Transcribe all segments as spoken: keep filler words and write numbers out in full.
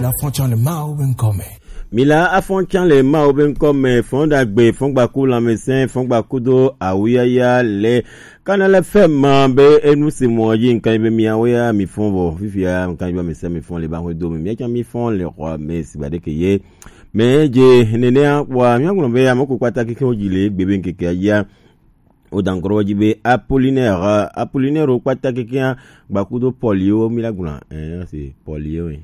Afɔntsã le Mawu be ŋkɔ me. Mila afɔntsã le Mawu be ŋkɔ me, fɔn ɖagbe, fɔn gbaku lãmesẽ, fɔn gbakudo awuyaya le Kanal F M be enu si mɔ dzi ŋkan be miawo ya mi fɔn vɔ. Fifia ŋkan be mi se mi fɔn le ba hwe do me. Mia tsã mi fɔn le xɔ me si ba ɖeke ye. Me dze nenea wa mia ŋlɔ be ame ko kpata keke wo dzi le egbe be ŋkeke ya. Wo da ŋkɔ ɖe wo dzi be Apollinaire, Apollinaire wo kpata kekea gbakudo Pɔliwo mi la gblɔa. Eh, si Pɔliwo.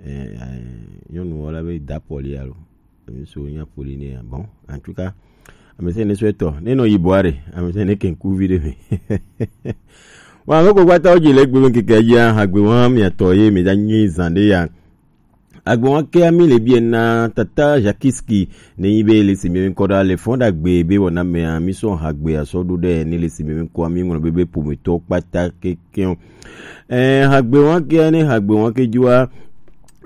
Eh, eh, nyɔnu wɔ la be da Pɔli alo. Ŋutsu nya Pɔli nɛ. Bon, en tout cas, ame sia ne sɔ etɔ. Ne nɔ yibɔ aɖe, ame sia ne ke ŋkuvi ɖe me. Wa ame ko kpata wo dzi le egbe be ŋkeke ya dzi hã, hagbe wa mia tɔ ye mi da nyi zan ɖe ya. Agbe wa ke ami le bie na tata Jakiski ne yi be le si mi ŋkɔ ɖa le fɔn ɖagbe be wɔna mea mi sɔ hagbe asɔ ɖo ɖe ne le si mi ŋkɔ ami ŋlɔ be be pometɔ kpata keke. Eh, hagbe wa ke ne hagbe wa ke dzua.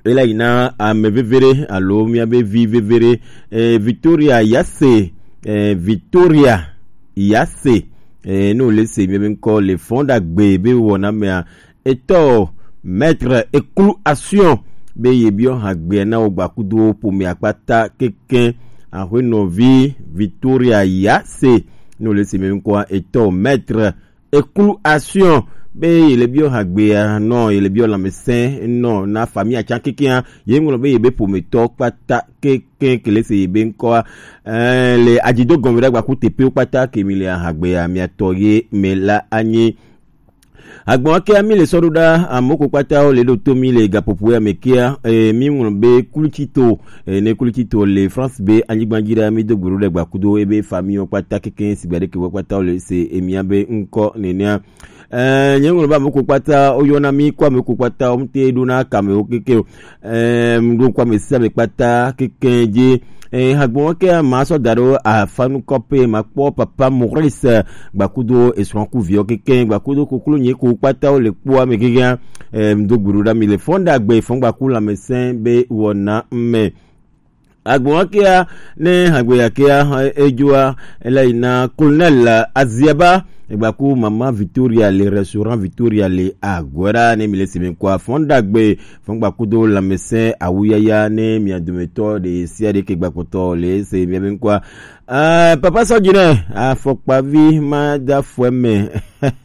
Ela yi na ame veve ɖe alo mia be vi veve ɖe. Eh, Victoria Yase, eh, Victoria Yase, eh, no le se mia be ŋkɔ le fɔn ɖagbe be wɔna mea etɔ Maître Eklu Action be ye biɔ hagbe na wo gbakudo pomea kpata keke. Ahwe nɔvi Victoria Yase no le se mia be ŋkɔ etɔ Maître Eklu Action be ye le biɔ hagbea nɔ, ye le biɔ lãmesẽ nɔ na famille atsa kekea, ye ŋlɔ be ye be pometɔ kpata keke ke le se ye be ŋkɔa. Eh, le adzido gɔme ɖe agbaku teƒewo kpata ke mi le hagbea mia tɔ ye me la anyi. Agbɔn ke mi le sɔ ɖo ɖa, ame ko kpata wo le ɖo to mi le gaƒoƒo ya me kea, eh, mi ŋlɔ be Kulitsito, eh, ne Kulitsito le France be anyigba dzi ɖa, mi do gbe ɖo ɖe gbakudo ebe famille wo kpata keke si gbe ɖeke wo kpata wo le se emia be ŋkɔ nenea. Eh, nye ŋlɔ be ame ko kpata wo yɔna mi ko ame ko kpata wo mte ɖo na kame wo keke o. Eh, ɖo ko ame sia ame kpata keke dzi. Eh, hagbɔn ke ma sɔ da ɖo afanu kɔpe ma kpɔ papa Maurice gbakudo esrɔ̃ ku viɔ keke gbakudo koklo nye ko kpata wo le kpɔ ame keke. Eh, do gbe ɖo ɖa mi le fɔn ɖagbe fɔn gbaku lãmesẽ be wɔna me. Agbɔn kea ne hagbe ya kea, eh, edzoa, ela yi na Colonel Aziaba, egbaku Mama Victoria le restaurant Victoria le Aguera ne mi le si mi kɔ afɔn ɖagbe, fɔn gbakudo lãmesẽ awuyaya ne mia dometɔ ɖe sia ɖe ke gbakpɔtɔ le se mia be ŋkɔa. Ah, papa sɔ dzi ne afɔkpavi ma da fɔe me.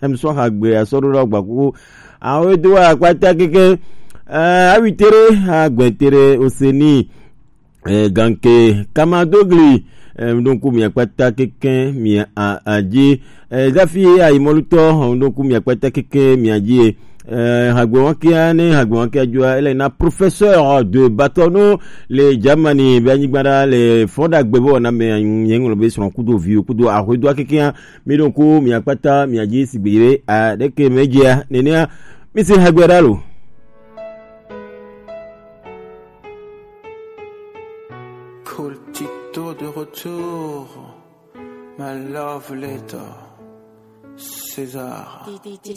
Em sɔ hagbe asɔ ɖo ɖe gbaku. Awo do akpata keke. Ah, awi tere, agbe tere oseni. Eh, ganke kamadogli, eh, donc mi akpata keke mi a, a dzi. Eh, zafi ayi mɔlutɔ, donc mi akpata keke mi a dzi. Eh, hagbe wa kia ne hagbe wa kia dzua, ele na professeur de bâtonneau le Germany be anyigba ɖa le fɔn ɖagbe be wɔna me nye ŋlɔ be srɔ̃ kudo viwo kudo ahoedoa kekea. Mi ɖo ŋku mi akpata mi a dzi sigbe be a ɖeke me dzia nenea. Mi se hagbe ɖa lo. Cool Tito de retour, my love letter, César.